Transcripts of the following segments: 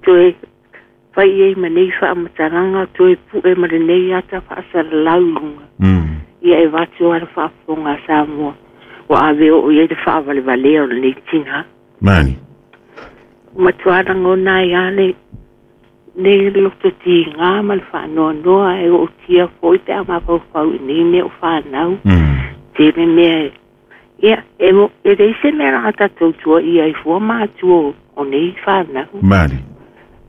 Toe fai i ai ma nei faamatalaga toe pu'e ma lenei ata faasalalau i luga. Ia e avatu lava le faafofoga a Samoa ua ave oo i ai le faavalevalea o lenei tinā. Mani. Ua matuā lagona ai lava le nei loto tigā ma le faanoanoa e ootia foi pe a mafaufau i nei mea o fanau. Tele mea e ia e mo e leai se mea laga tatou tuaia ai fua matua o nei fanau. Mali.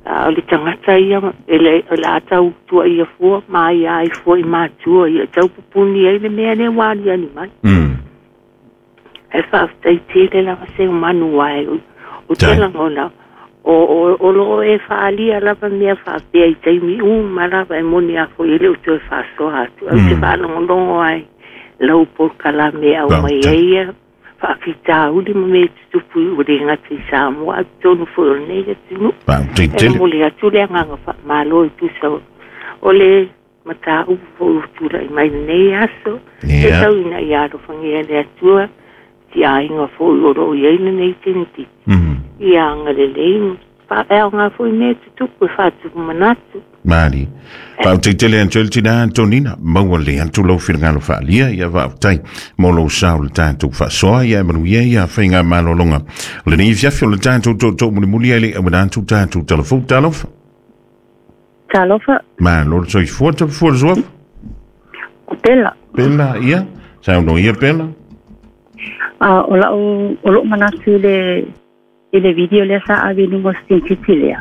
A o le tagata ia e le o le a tau tuaia fua ma aia ai fua i matua ia e tau pupuni ai le mea lea ua aliali mai. Ae faafetai tele lava Seumanu ae ou te lagona o lo o e faaalia lava mea faapea i taimi uma lava e moni a foi e le o toe faasoa atu. Ae ou te faalogologo ai lau polokalame e aumai ai ia faafitauli ma mea e tutupu ua le gata i Samoa ae totonu foi o lenei atunuu. E momoli atu le agaga faamalo e tusa o le mataupu foi ua tulai mai lenei aso. E tau ina ia alofagia e le Atua tiaiga foi o lo o i ai lenei teinititi. Ia agalelei ma faaeaoga foi mea e tutupu e faatupu manatu. Mali. Faafetai tele atu ai le tina Antonina, maua le atu lou finagalo faaalia, ia faafetai mo lou sao i le tatou faasoa, ia e manuia ia faigamalologa o lenei afiafi o le tatou tootoo mulimuli ai le auina atu tatou talafou. Talofa. Talofa. Malo le soifua, tafua le suafa. O Pela. Pela, ia. Saunoa ia Pela. A o lau o lou manatu i le video lea sa ave i luga o se lea.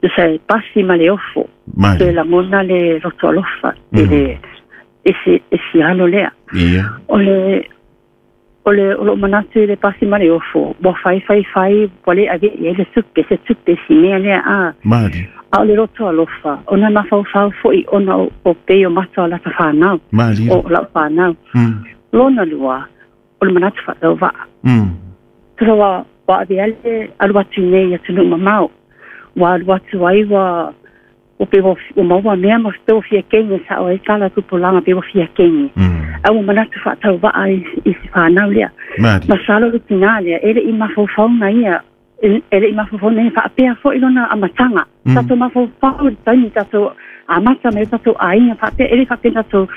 Tusa e pasi ma le ofo. Mai. Toe lagona le loto alofa i le i si alo lea. Ia. O le o lou manatu i le pasi ma le ofo, ua fai fai fai, ua le ave i ai le tupe, se tupe si mea lea a. Mali. A o le loto alofa, ona mafaufau foi ona o pei o mata o lata whanau. Mali. O lau whanau. Lona lua, o le manatu whaatauva'a. Tusa ua ave ale alu atu nei atunuu mamao. Ua alu atu ai ua pe ua maua mea ma pe ua fia kenge sa o ai tala tupulaga pe ua fia kenge. A ua manatu faatauva'a i si whanau lea. Mali. Masalo le tinā lea, e le i mafaufauga ia, e le i mafaufauga ia faapea foi lona amataga. Tatou mafaufau i le taimi tatou amata mai tatou aiga faapea, e le faapea tatou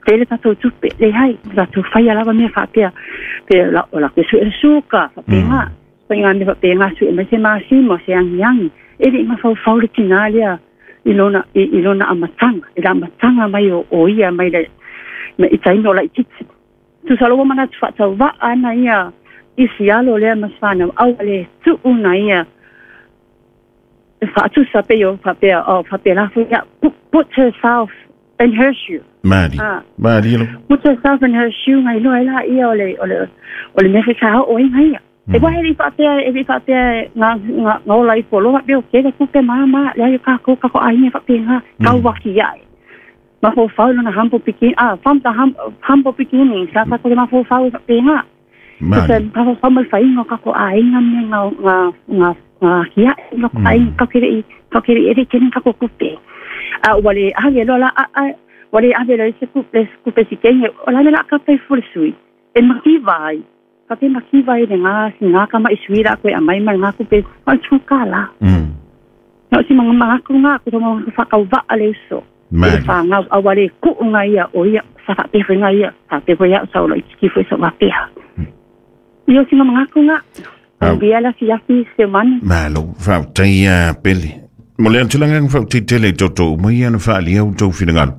tele tatou tupe, leai, tatou faia lava mea faapea. Pe la, o la ke sue le suka, faapena. Faiga mea faapena sue mai se masima, se agiagi. E le i mafaufau le tinā lea i lona amataga, i le amataga mai o ia mai le mai i taimi o laitiiti. Tusa lo ua manatu faatauva'a ana ia i si alo lea ma si fanau, aua le tuu na ia faatusa pe o faapea o faapea la foi ia put herself in her shoe. Mali. Ah. Mali lo. Put herself in her shoe ngai loa la ia o le mea foi sa oo ai ngai ia. E wahe e le faapea ngā ola i polo faapea o kele kupe mama le ai ka ko ka ko ai faapea ngā kau waki ai. Mafaufau lona humble beginning, from the humble beginning, sa sa ko le mafaufau faapea ngā. Mali. Se mafaufau mai whainga ka ko ainga me ngā kia ngā ko ainga ka kere ere kene ka ko kupe. A wale ave lo la a wale ave lo se kupe si kenge o la la ka pe fu sui. E makiva ai. Ka pe makiva ai le ngā si ngā kama i sui la koe a mai mai ngā kupe o tu ka la. No si mga mga ku ngā ku mga whakauva'a le uso. I le Mali. whāngau a wale ku ngā ia o ia sa whapea fwe ngā ia sa whapea fwe ia sa o lo i tiki fwe sa wapea. Io si mga ku ngā. Au. Au bia la si afi se manu. Malo, faafetai ia Pele. Mo le atulaga faafetai tele i toto uma ia na faaalia outou finagalo.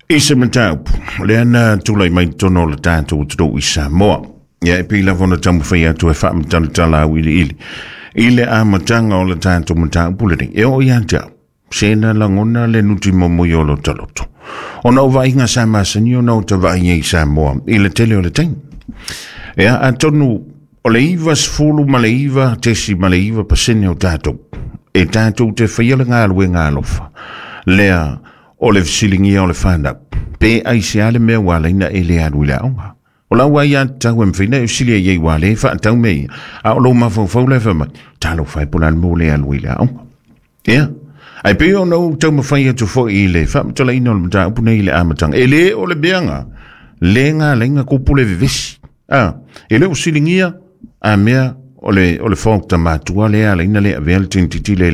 I se mataupu, lea na tulai mai totonu o le tatou atunuu i Samoa. Ia e pei lava ona taumafai atu e faamatalatala auiliili i le amataga o le tatou mataupu lenei. E oo ia te au, se na lagona le nuti momoi o lo taloto. Ona o vaaiga sa masani ona o tavaai ai i Samoa i le tele o le taimi. Ia atonu o le 99.9% o tatou e tatou te faia le galuega alofa. Lea o le fesiligia o le fanau, pe aisea le mea ua ala ai na e le alu i le aoga. O lau ai a tau e mawhina e silia i ei wā le whaatau me ia. A o lou mafaufau le whamai, talo whai po lan mō le alu i le aoga. Ia, ai pe o nau tau mawhai atu foi i le whamatalaina o le mataupu nei i le amatanga. E le o le meanga, le ngā lenga kupu le vevesi. A, e le o silingia, a mea o le whaokta matua le ala ina le avea le tintiti le.